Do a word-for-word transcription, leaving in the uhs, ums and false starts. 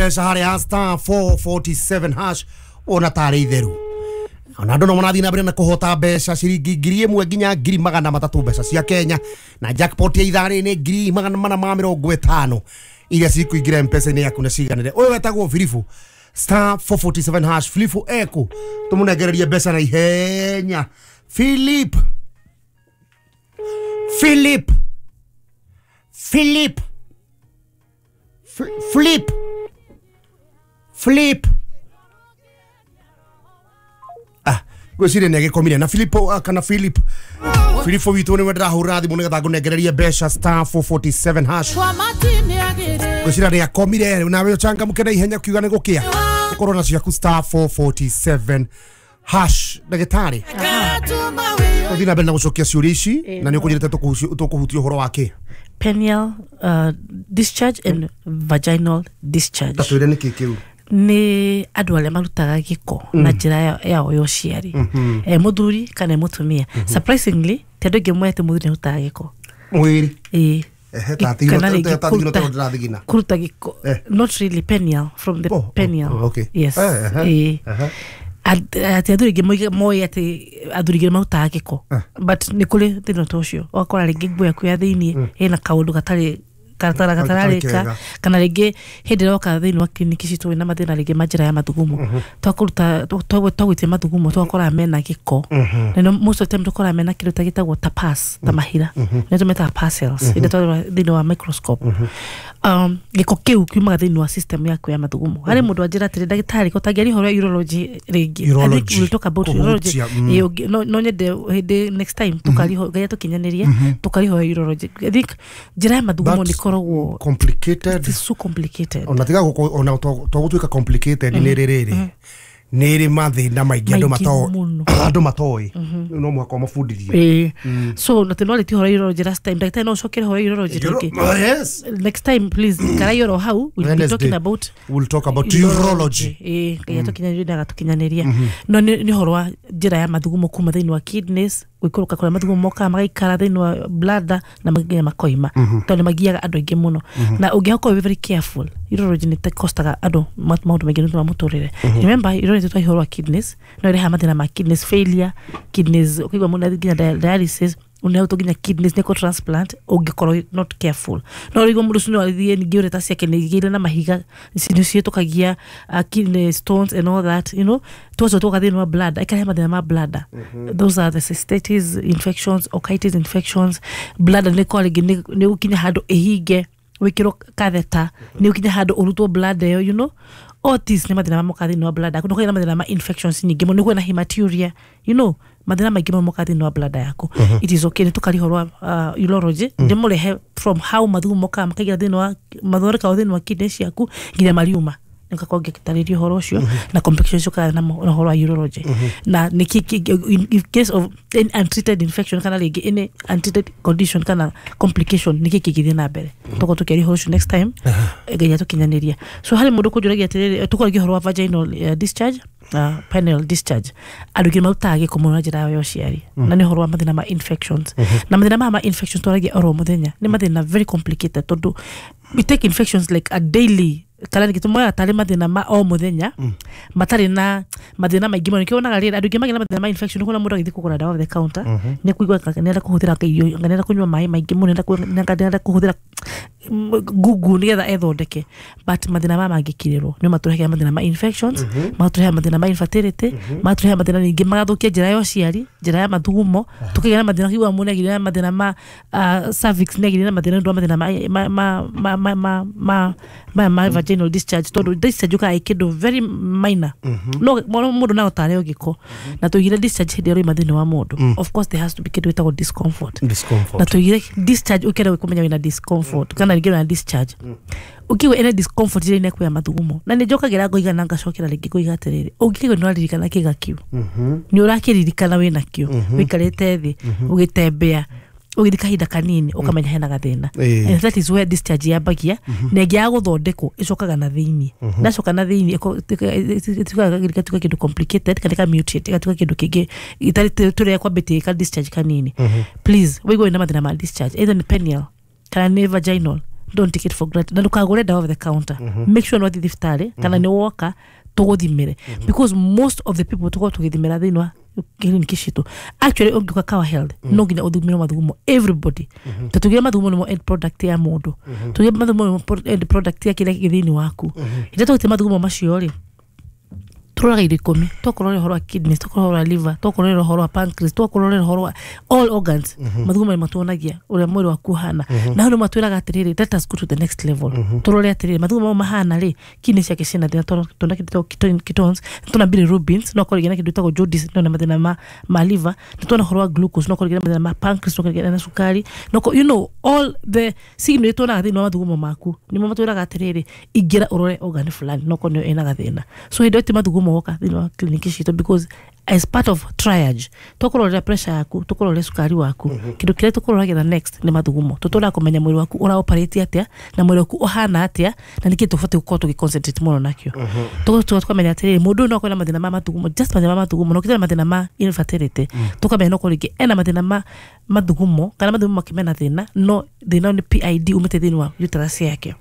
Mbeca harĩa star four forty-seven hash ona tarĩ itheru. Ona andũ no marathiĩ na mbere na kũhota mbeca ciringi ngiri ĩmwe nginya ngiri magana matatũ mbeca cia Kenya, na jackpot ya ithaa rĩrĩ nĩ ngiri magana mana ma mĩrongo ĩtano iria cikũingĩra M-Pesa-inĩ yaku na ciganĩre. Ũyũ wetagwo Filifu star four forty-seven hash. Filifu eku tũmũnengererie mbeca na ihenya. Philip Philip Philip Flip Flip ah gwĩciria nĩ agĩkomire na Filipo kana Philip Filipo witũ nĩwe ndĩrahũra thimũ nĩgetha ngũnengererie mbeca star four forty-seven hash. Gwĩciria nĩ akomire nawe ũchangamke na ihenya kiuga nĩ gũkĩa ũkorwo na ciaku star four forty-seven hash. Ndagĩtarĩ tũthiĩ na mbere na gũcokia ciũria ici na nĩ ũkũnjĩrĩte tũkũhutia ũhoro wa kĩ? Penial uh, discharge and vaginal discharge. Tatwĩre nĩkĩ kĩu? Nĩ andũ arĩa marutaga gĩko na njĩra yao ya ũciari, e mũthuri kana mũtumia. Surprisingly ti andũ aingĩ moĩ atĩ mũthuri nĩarutaga gĩko mwĩrĩ. Ĩĩ. Ehe, ta thigino kũruta gĩko, not really penial, from the oh, penial. Oh, okay. Yes. Ĩĩ. Atĩ athuri aingĩ moĩ atĩ athuri aingĩ marutaga gĩko, but nĩ kũrĩ thĩna ta ũcio ũgakora rĩngĩ nguo yaku ya thĩiniĩ ĩna kaũndũ gatarĩ karatara gatararĩka, kana rĩngĩ hĩndĩ ĩrĩa woka thĩinĩ wa kiriniki citũ wĩna mathĩna rĩngĩ ma njĩra ya mathugumo, twakũruta twagwĩtia mathugumo tũgakora mena gĩko, na most of the time tũkoraga mena kĩndũ ta gĩtagwo ta pus, ta mahira, nĩ tũmetaga parcels hĩndĩ twarora thĩinĩ wa microscope. Um, gĩko kĩu kiumaga thĩinĩ wa system yaku ya mathugumo. Harĩ mũndũ anjĩra atĩrĩ, ndagĩtarĩ ko tangĩaria ũhoro wa urology rĩngĩ. I think we'll talk about urology. No, no nyende hĩndĩ next time tũkaria ngai tũkinyanĩrie tũkaria ũhoro wa urology. I think njĩra ya mathugumo nĩ ĩkoragwo complicated. It is so complicated. Ona tiga ona to gũtuĩka complicated nĩ rĩrĩ nĩ ĩrĩ mathĩna maingĩ andũ matoĩ andũ matoĩ no mũhaka ũmabundithie. So na teno rĩti ũhoro urology last time, ndagĩtarĩ no ũcokere ũhoro urology rĩngĩ. Yes. Next time please karai oro hau, we'll be talking about we'll talk about urology. Eh, ngai tũkinyanĩrie na gatũkinyanĩria. No nĩ ũhoro wa njĩra ya mathugumo kuma thĩinĩ wa kidneys gũikũrũka kũrĩa mathugumo mokaga magaikara thĩinĩ wa bladder na nginya makoima, tondũ nĩ magiaga andũ aingĩ mũno. Na ũngĩkorwo wĩ very careful, urology nĩ kostaga andũ maũndũ maingĩ nĩ ũndũ wa mũtũrĩre. Remember urology twa ũhoro wa kidneys no ĩrehaga mathĩna ma kidneys failure, kidneys ũkaigua mũndũ nginya dialysis, unahota nginya kidneys nĩ transplant ũngĩkorwo not careful. No rĩu mũndũ ũcio no athiĩ ningĩ ũrĩa ta ciake nĩ igĩire na mahiga nĩ ciĩtũkagia kidney stones and all that, you know, twacio twoka thĩinĩ wa bladder ikarehe mathĩna ma bladder. Those are the cystitis infections, orchitis infections. Bladder nĩ kwa rĩngĩ nĩ ũkinya handũ ĩhinge wĩkĩrwo catheter, nĩ ũkinya handũ ũrutwo bladder ĩyo, you know. Otis nĩ mathĩna moka thĩinĩ wa bladder yaku, nĩ kwĩna mathĩna ma infections nyingĩ mũno, nĩ kwĩna hematuria, you know, mathĩna maingĩ mũno moka thĩinĩ wa bladder yaku. It is okay nĩ tũkaria ũhoro wa urology, ndĩmũrehe from how mathugumo mokaga makaingĩra thĩinĩ wa mathondekagwo thĩinĩ wa kidney ciaku nginya mariuma. Nĩgakorwo ngĩtarĩria ũhoro ũcio na complications ciũkaga na ũhoro wa urology, na nĩkĩ in case of any untreated infection kana rĩngĩ any untreated condition kana complication nĩkĩ kĩngĩthiĩ na mbere. Tũkorwo tũkĩaria ũhoro ũcio next time ngai atũkinyanĩria. So harĩ mũndũ kũnjũragia atĩrĩrĩ, tũkũragia ũhoro wa vaginal discharge, uh, penile discharge. Andũ aingĩ marutaga gĩko mũno na njĩra yao ya ũciari, na nĩ ũhoro wa mathĩna ma infections. Na mathĩna maya ma infections twaragia oro mũthenya nĩ mathĩna very complicated, tondũ we take infections like a daily kana nĩ gĩtũmoya tarĩ mathĩna ma o mũthenya matarĩ na mathĩna maingĩ mũno. Nĩkĩo wonaga rĩrĩ andũ aingĩ magĩa na mathĩna ma infection, nĩkuona mũndũ agĩthiĩ kũgũra ndawa over the counter nĩ kũigua nĩarenda kũhũthĩra irio, nĩarenda kũnyua maĩ maingĩ mũno, nĩarenda kũhũthĩra gugu nĩgetha ethondeke. But mathĩna maya mangĩkirĩrwo nĩ matũrehaga mathĩna ma infections, magatũrehaga mathĩna ma infertility, magatũrehaga mathĩna ningĩ magathũkia njĩra ya ũciari, njĩra ya mathugumo, tũkagĩa na mathĩna kĩigua mũndũ nĩagĩire na mathĩna ma cervix, nĩagĩire na mathĩna nĩ ũndũ wa mathĩna ma ma ma ma ma ma ma ma vaginal discharge, tondũ discharge yũkaga ĩ kĩndũ very minor, no mũndũ no atareo gĩko na tũigire discharge hĩndĩ ĩrĩa ĩroima thĩinĩ wa mũndũ. Of course there has to be kĩndũ gĩtagwo discomfort, na tũigire discharge ũkĩenda kũmenya wĩna discomfort kana rĩngĩ wĩna discharge, ũkĩigua ĩna discomfort njĩra-inĩ yaku ya mathugumo. Na nĩ njokagĩra ngoiga na ngacokera rĩngĩ ngoiga atĩrĩrĩ, ũngĩkĩigua nĩ ũraririkana kĩga kĩu, nĩ ũrakĩririkana wĩna kĩo, ũikarĩte thĩ ũgĩtembea ũgĩthiĩ kahinda kanini ũkamenya hena gathĩna. And that is where discharge yambagia, na ĩngĩ ya gũthondekwo ĩcokaga na thĩiniĩ, ndacoka na thĩiniĩ ĩgatuĩka kĩndũ complicated kana ĩka mutate ĩgatuĩka kĩndũ kĩngĩ ĩtarĩ tũrĩa kwambĩtie ĩka discharge kanini. Please wĩigue wĩna mathĩna ma discharge, either nĩ penial kana nĩ vaginal, Don't take it for granted, na ndũkagũre ndawa over the counter. Make sure nĩ wathiĩ thibitarĩ kana nĩ woka tũgũthimĩre, because most of the people tũkorwo tũgĩthimĩra thĩinĩ wa kiriniki citũ, actually ũngĩũka Kawa Health, no nginya ũthimĩrwo mathugumo, everybody, tondũ tugire mathugumo nĩmo end product ya mũndũ, tugire mathugumo nĩmo pro- end product ya kĩrĩa gĩ thĩinĩ waku. Hĩndĩ ĩrĩa tũgĩte mathugumo macio rĩ, tũroraga indo ikũmi. Twakorora ũhoro wa kidneys, twakorora ũhoro wa liver, twakorora ũhoro wa pancreas, twakorora ũhoro wa all organs. Mathugumo nĩ matuonagia ũrĩa mwĩrĩ waku ũhana, na hau nĩ matwĩraga atĩrĩrĩ, let us go to the next level. Tũrore atĩrĩrĩ, mathugumo mau mahana rĩ, kidneys ciake ciĩna thĩna, tũrona kĩndũ gĩtagwo keton- ketones, tũna bilirubins, no akorwo na kĩndũ gĩtagwo jaundice, no na mathĩna ma, ma liver, nĩ tuona ũhoro wa glucose, no akorwo na mathĩna ma pancreas, no akorwo na cukari, no akorwo- you know all the signal iria tuonaga thĩinĩ wa mathugumo maku nĩmo matwĩraga atĩrĩrĩ, ingĩra ũrore organ fulani, no akorwo nĩyo ĩna gathĩna. So hĩndĩ ĩyo ti mathugumo woka thĩinĩ wa kliniki citũ, because as part of triage tũkũrorera pressure yaku, tũkũrorera cukari waku, kĩndũ kĩrĩa tũkũroragĩra next nĩ mathugumo. Tũtũraga kũmenya mwĩrĩ waku ũra operate atĩa na mwĩrĩ waku ũhana atĩa na nĩkĩ tũbatiĩ gũkorwo tũgĩ concentrate mũno nakĩo. Tũgatua tũkamenya atĩrĩrĩ, mũndũ ũyũ no akorwo na mathĩna ma mathugumo, just mathĩna ma mathugumo, no kĩthe mathĩna ma infertility. Tũkamenya no korwo rĩngĩ ena mathĩna ma mathugumo kana mathugumo make mena thĩna, no thĩna ũyũ nĩ P I D umĩte thĩinĩ wa uterus yake.